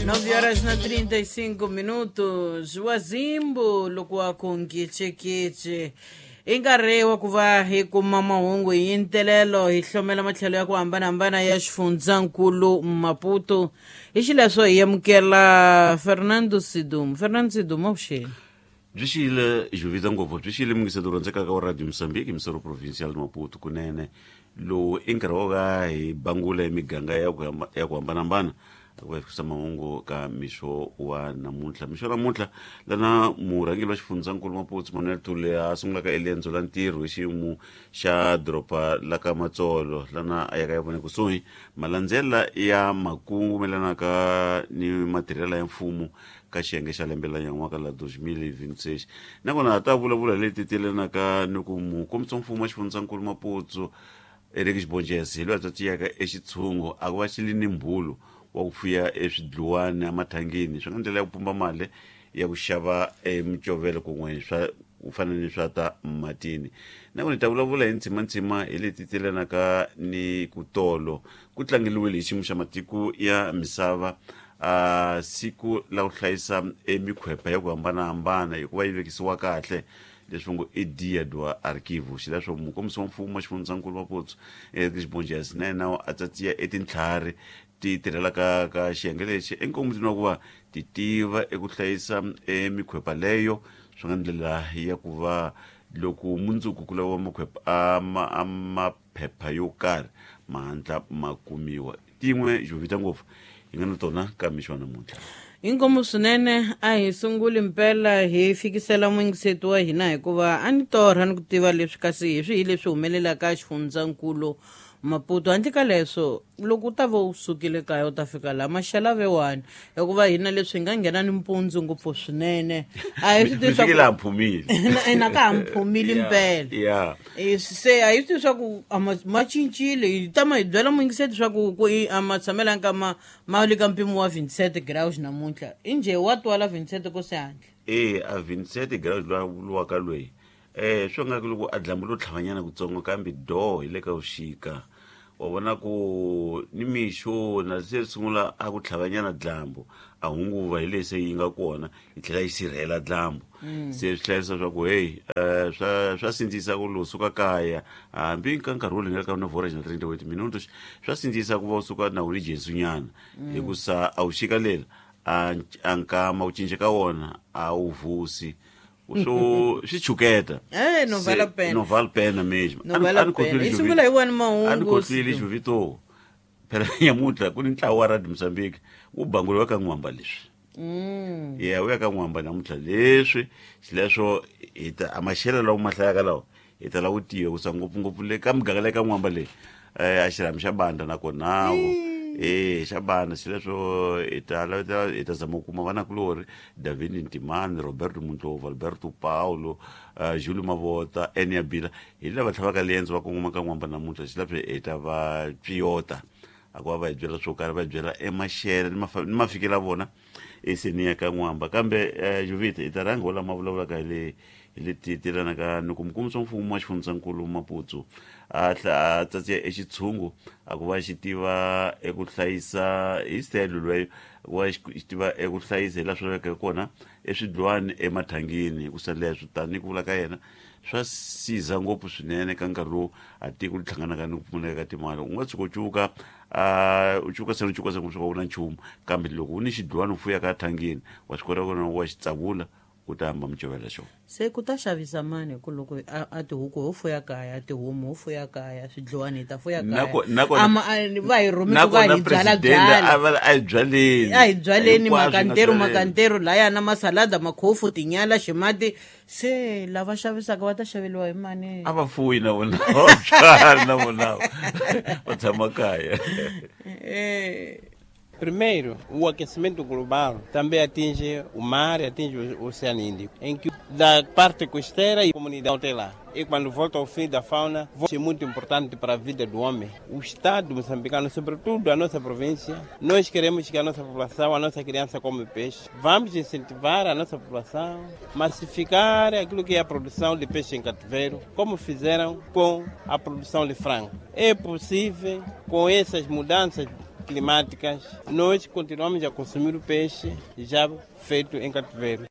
9 horas na 35 minutos. Wazimbu loko wa ku nkicekice i nkarhi wa ku va hi kuma mahungu hi ntelelo hi hlomela matlhelo ya ku hambanahambana ya xifundzankulu Maputo. Hi xileswo hi amukela Fernando Sidum. Fernando Sidum, avuxeni. Byi xiyile juvita ngopfu, byi xiyile mingiseto rhandzekaka wa Radio Mozambique, misoro provincial Maputo. Kunene lowu i nkarhi wo ka hi bangula miganga ya ku hambanahambana ku va fikisa mahungu ka mixo wa namuntlha. Mixo wa namuntlha lana murhangeri wa xifundzankulu Maputo Manuel Thule a sungulaka eliendzo la ntirho hi xiyimo xa doroba la ka Matsolo, lana a yaka ya vona kusuhi malandzela ya makungu melanaka ni matirhela ya mfumo ka xiyenge xa lembe la nyan'waka la 2026. Nakona a ta vulavula leti telenaka ni ku mukombisa mfumo wa xifundzankulu Maputo Eric Xibonjesi hi loyi a tsatsiyaka exitshungu a ku va xi li ni mbulu wa ku fuya eswidluwani emathangini, swi nga ndlela ya ku pumba mali ya ku xava emicovelo kun'we swa ku fana ni swa ta matini. Nakona hi ta vulavula hi ntsimantsima hi leti telenaka ni ku tolo ku tlangeliwile hi xiyimo xa matiko ya misava a siku la ku hlayisa emikhwepa ya ku hambanahambana hikuva yi vekisiwa kahle, leswi ngo i Dia do Arquivo. Xileswo mukombisi wa mfumo wa xifundzankulu Maputo Eric Xibonjesi na yena a tsatsiya etintlhari ti tirhelaka ka xiyenge lexi enkomutini wa ku va ti tiva eku hlayisa emikhwepa leyo, swi nga ndlela ya ku va loko mundzuku ku laviwa makhwepa a maphepha yo karhi ma hatla ma kumiwa. Tin'we juvita ngopfu hi nga na tona ka mixo wa namuntlha. Inkomu swinene. A hi sunguli mpela hi fikisela muyingiseti wa hina, hikuva a ni torha ni ku tiva leswi kasi hi swihi leswi humelelaka xifundzankulu Maputo. Handle ka leswo, loko u ta va u sukile kaya u ta fika laha maxela vewani, hikuva hina leswi hi nga nghena ni mpundzu ngopfu swinene a hi swi tivi. Mi fikile a mphumile. Ina ka ha mphumile mpela. Se a hi swi tivi swa ku a ma cincile. Hi tama hi byela muyingiseti swa ku ku a ma tshamelanga ka ma le ka mpimo wa 27 graus namuntlha. Injhe wa twala 27 ko se handle? E a 27 graus loyi a vuriwaka loyi swi nga ku loko a dlambu lo tlhavanyana kutsongo, kambe do hi le ka vuxika wa vona ku ni mixo na se ri sungula a ku tlhavanyana dlambu, a hunguva hi leyi se yi nga kona yi tlhela yi sirhela dlambu. Se swi hlayisa swa ku hey, swa sindzisa ku lowu suka kaya hambi ka nkarhi wo lingela ka 9 horas na 38 minutos, swa sindzisa ku va u suka na wu ni jesunyana, hikusa a wu xika lela a nkama ku cinca ka wona a wu vusi, swo swi chuketa. No vale a pena. No vale pena mesmo. No vale a pena. Hi sungula hi wani A ni mahungu. khohlwile xivito phela, nyamuntlha ku ni ntlawa wa Radio Mozambique wu banguliwa ka n'wamba leswi. Ya wu ya ka n'wamba namuntlha leswi, xileswo hi ta a maxelo lawa ma hlayaka lawa hi ta lava ku tiva kusa ngopfungopfu le ka muganga le ka n'wamba leyi a xirhami xa banda nakonawo e xa banda. Xileswo hi ta laveta, hi ta zama ku kuma vanakulori David Ntimani, Roberto Muntlovu, Alberto Paulo, Julio Mavota, Enia Bila, hi lava tlhavaka liendzo va kongoma ka n'wamba namuntlha. Xileswo hi ta va piyota a ku va va hi byela swo karhi, va hi byela emaxele ni ni mafikelo ya vona eseni ya ka n'wamba. Kambe juvita hi ta rhanga ho lama vulavulaka hi le hi leti telanaka ni ku mukombisi wa mfumo wa xifundzankulu Maputo a a tsatsiya exitshungu a ku va xi tiva eku hlayisa hi style lweyo, ku va xi tiva eku hlayisa hi laha swi lavekaka kona eswidlwani emathangini, hikusa leswo tani ku vula ka yena swa siza ngopfu swinene ka nkarhi lowu a tiko ri hlanganaka ni ku pfumaleka ka timali. U nga tshuka u cuka a u cuka se u cuka se ku suka u na nchumu, kambe loko u ni xidlwani u fuyaka thangini wa swi kota ku na wa xi tsavula u ta hamba micovela xona. Se ku ta xavisa mani? Hi ku loko a tihuku ho fuya kaya, tihomu ho fuya kaya, swidliwani hi ta fuya kaya. Va hi rhumi ku va Nakona hi byala president byala. A va a hi byaleni. A hi byaleni. Hinkwaswo hi nga Makanteru byaleni. Makanteru laya na masalada, makhofu, tinyala, ximati, se lava xavisaka va ta xaveliwa hi mani? A va fuyi na vona, va byali na vona, va tshama kaya. Primeiro, o aquecimento global também atinge o mar e atinge o Oceano Índico, em que da parte costeira e comunidade tem lá. E quando volta ao fim da fauna, é muito importante para a vida do homem. O Estado moçambicano, sobretudo a nossa província, nós queremos que a nossa população, a nossa criança come peixe. Vamos incentivar a nossa população, massificar aquilo que é a produção de peixe em cativeiro, como fizeram com a produção de frango. É possível, com essas mudanças climáticas, nós continuamos a consumir o peixe já feito em cativeiro.